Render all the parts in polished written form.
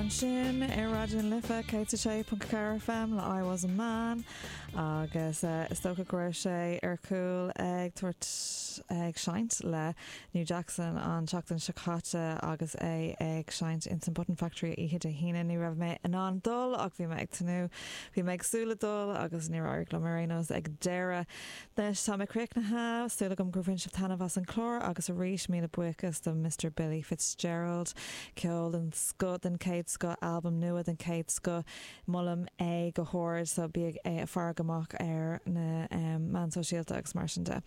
ansin ar Raidió na Life 106.4 FM le I Was A Man agus is dócha go raibh sé ar chúl ag tabhairt ag seinnt le New Jackson an tseachtain seo caite agus é ag seinnt ins an Button Factory oíche Dé hAoine. Ní raibh mé in ann dul ach bhí mé ag tnúth. Bhí mé ag súil le dul agus níor éirigh liom ar aon nós ag deireadh. Anois tá mé críochnaithe, súil agam gur bhain sibh taitneamh as an chlár agus arís míle buíochas do Mr Billy Fitzgerald. Ceol den scoth, den chéad scoth, albam nua den chéad scoth, molaim é go hard so bíodh ag faire amach ar na meáin sóisialta agus mar sin de.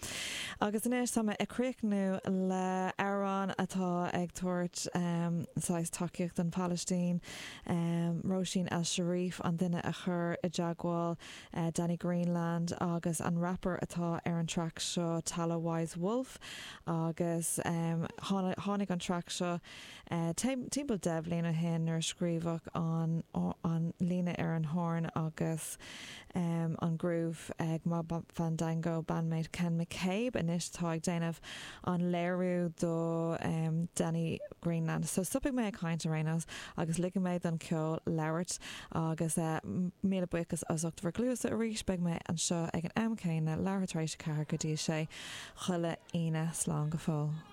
Agus anois tá mé ag críochnú le amhrán atá ag tabhairt saghas tacaíocht don Phalaistín, Róisín El Sharif an duine a chuir i dteagmháil Danny Greenland agus an rapper atá ar an traic seo Tala Wise Wolf agus tháinig an traic seo timpeall 10 bhliain ó shin nuair a scríobhadh an an líne ar an horn agus an groove ag Mob Fandango bandmate Ken McCabe anois atá ag déanamh an léiriú do Danny Greenland. So stopfaidh mé ag caint ar aon nós agus ligfidh mé don cheol labhairt. Agus míle buíochas as ucht bhur gcluasa arís. Beidh mé anseo ag an am céanna, leathuair tar éis a 4 go dtí a 6, chuile Aoine. Slán go fóill.